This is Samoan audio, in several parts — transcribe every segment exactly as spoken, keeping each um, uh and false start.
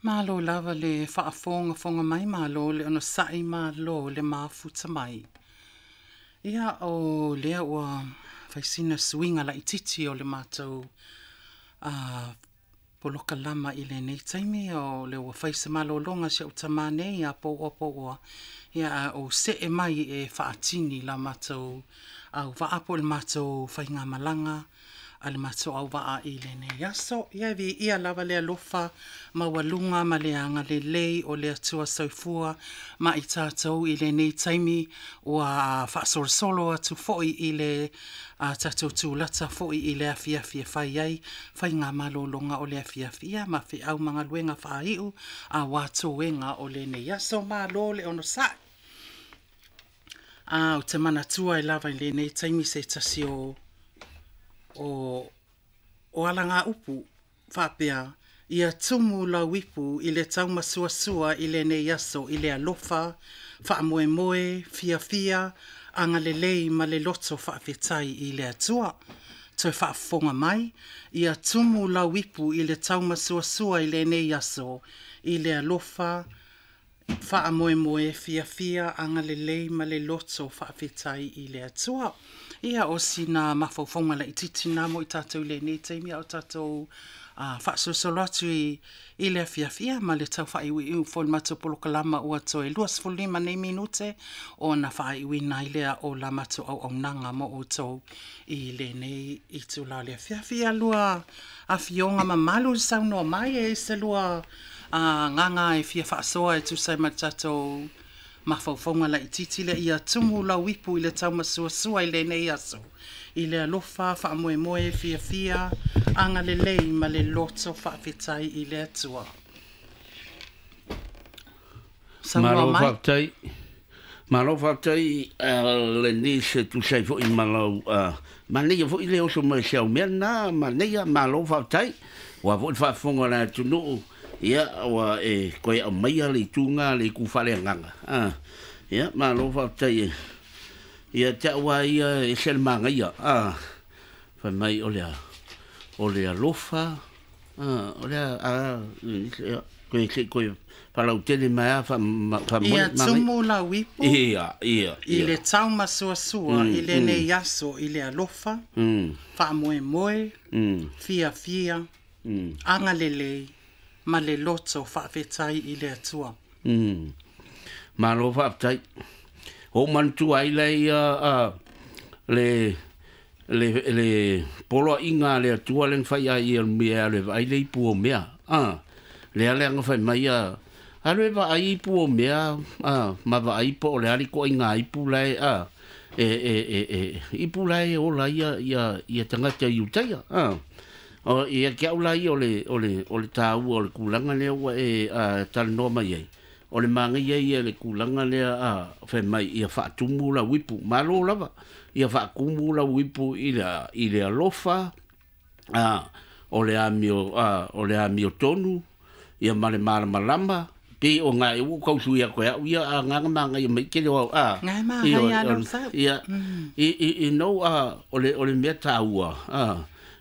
Malo lava le faafogafoga mai, malo le onosai, malo le mafuta mai. Ia o lea ua faisina suiga laititi o le matou a polokalama i lenei taimi o le ua fai se malologa si au tamā nei a pouoa pouoa, ia a ou see mai e faatini la matou auvaa po o le matou faigamalaga a le matou auvaa i lenei aso. Ia e viia lava le alofa maualuga ma le agalelei o le Atua soifua ma i tatou i lenei taimi ua faasolosolo atu foi i le a tatou tulata foi i le afiafi e fai ai faigamalologa o le afiafi, ia ma feau ma galuega faaiu auā toega o lenei aso. Malo le onosai. A ou te manatua ai lava i lenei taimi se tasi o o o alagaupu faapea, ia tumu lau ipu i le taumasuasua i lenei aso i le alofa, faamoemoe, fiafia, agalelei ma le loto faafetai i le Atua. Toe faafofoga mai, ia tumu lau ipu i le taumasuasua i lenei aso i le alofa, faamoemoe, fiafia, agalelei ma le loto faafetai i le Atua. Ia o sina mafaufauga laititi na mo i tatou i lenei taimi a o tatou uh, faasolosolo atu i, i le afiafi, ia ma le tau faaiuiu foi le matou polokalama ua toe luasefulu lima nei minute ona faaiuina ai lea o la matou auaunaga mo outou i lenei itula o le afiafi. Ia lua afioga mamalu saunoa mai e se lua uh, gaga e fia faasoa e tusa ai ma le tatou mafaufauga laititi lea, ia tumu lau ipu i le taumasuasua i lenei aso i le alofa, faamoemoe, fiafia, agalelei ma le loto faafetai i le Atua. Saunoa Malo mai. Faafetai. Malo faafetai lenei se tusa ai foi ma lau manaia foi le oso mai se au mea na manaia malo faafetai. Ua foi le faafofoga o le atunuu ia ua e koe aumaia le ituga le itu faaleagaga. Ah, ia malo faafetai e. Ia te au lava ia e ese le magaia. Ah, fai mai o le o le alofa ah, o le a koe se koe falautele mai a fa fa Ia tumu lau ipu ia ia i ia le taumasuasua mm, i lenei mm, aso i le alofa, mm, faamoemoe, mm, fiafia, mm, agalelei ma le loto faafetai i le Atua. mm. Malo faafetai. O manatua ai lea ia a le le le poloaiga a le Atua le na fai ai ia mea le vaai le ipu o mea. Ah, le ale anga fai mai ia alu e vaai ipu o mea ah, ma vaai po o le ali ko inga ipu lae ah, e e e e ipu lae ola ia ia ia tagata i utaia. Ah. O ia ke au lai o le o le o le tāua o le kūlanga lea ua e a, talanoa mai ai. O le magaia ia le kūlanga lea a fai mai ia faatumu lau ipu. Malo lava. Ia faakumu lau ipu i le i le alofa a o le amio a o le amio tonu ia ma le malamalama pe o ngā e ua kausu ia koe au ia a ngā magaia mai kele o au a Ngai i magaia o, lau o, sau. ia Mm. i i i no a o le o le mea tāua a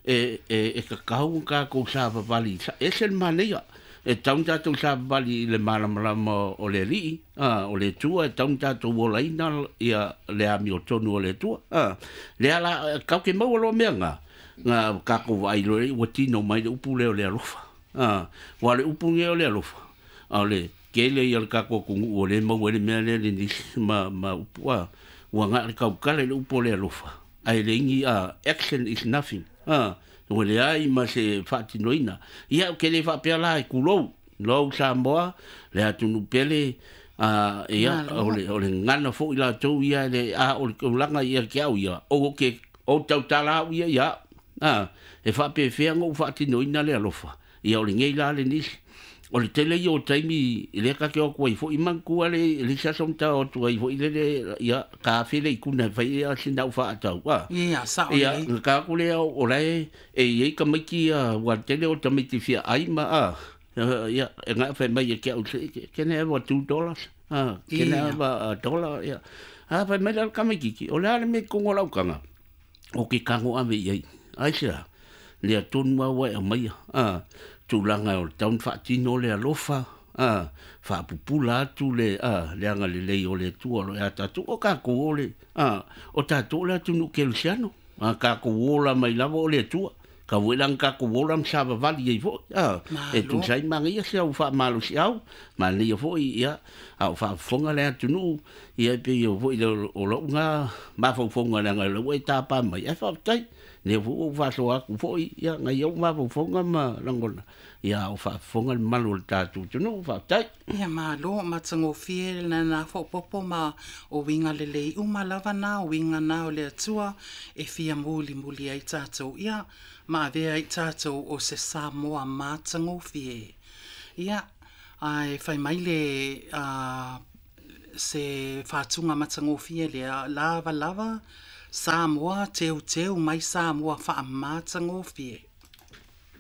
e e e kakau kākou savavali ese le manaia e tau tātou savavali i le malamalama o le alii a o le Atua e tau tātou olaina ia le amiotonu o le Atua a le ala kau ke maua loa mea ngā ngā kākou vaai loa ua tino mai le upu lea o le alofa a ua le upu lea o le alofa a o le kele ia le kākou atunuu o le maua ai le mea lea le nisi ma ma upu a ua nga le kaukale le upu o le alofa ai le ingi a action is nothing a ua leai ma se faatinoina ia o ke le faapea la e kulou lou Samoa le atunuu pele a ia o Malo. le o le gana foi latou ia le a o le tulaga ia ke au ia o ke o tautala au ia ia a e faapefea ona ou faatinoina le alofa ia o lenei la le nisi o le tele ia o taimi i le ka ke o atu ai foi manatua le le se aso na tao atu ai foi lele ia ka afe le ikuna e fai ai sina au faatau a Ia sao ia lelei. na ka aku lea o lae e i ai tamaiti ia ua tele o tamaiti fia ai ma a ia e nga fai mai e ke au se can I have a two dollars ah can I Ia. have a, a dollar ia a fai mai le kamaititi o le a le mea i kogo o lau kaga o ke kago ave i ai ai se a lea tonu au e aumaia a tulaga o le tau ona faatino le alofa a faapupula atu le a le agalelei o le Atua o lo o ia tatou o tatou o le a o tatou o le atunuu kerisiano a tatou ola mai lava o le Atua tau foi la ona tatou ola ma savavali ai foi a e tusa ai manaia si au faamalosiau manaia foi ia a o faafofoga le atunuu ia e pei o foi o lou na mafaufauga leaga o lea ua e tapa mai ae faafetai lea foi ua ou faasoa atu foi ia nai ou mafaufauga ma lagona ia a o faafofoga le mamalu o le tatou atunuu faafetai. Ia malo matagofie lena faaopoopo ma o uiga lelei uma lava na o uiga na o le Atua e fia mulimuli ai tatou ia ma avea ai tatou o se Samoa matagofie. Ia ae fai mai le a se faatuga matagofie lea lava lava Samoa teuteu mai Samoa faamatagofie.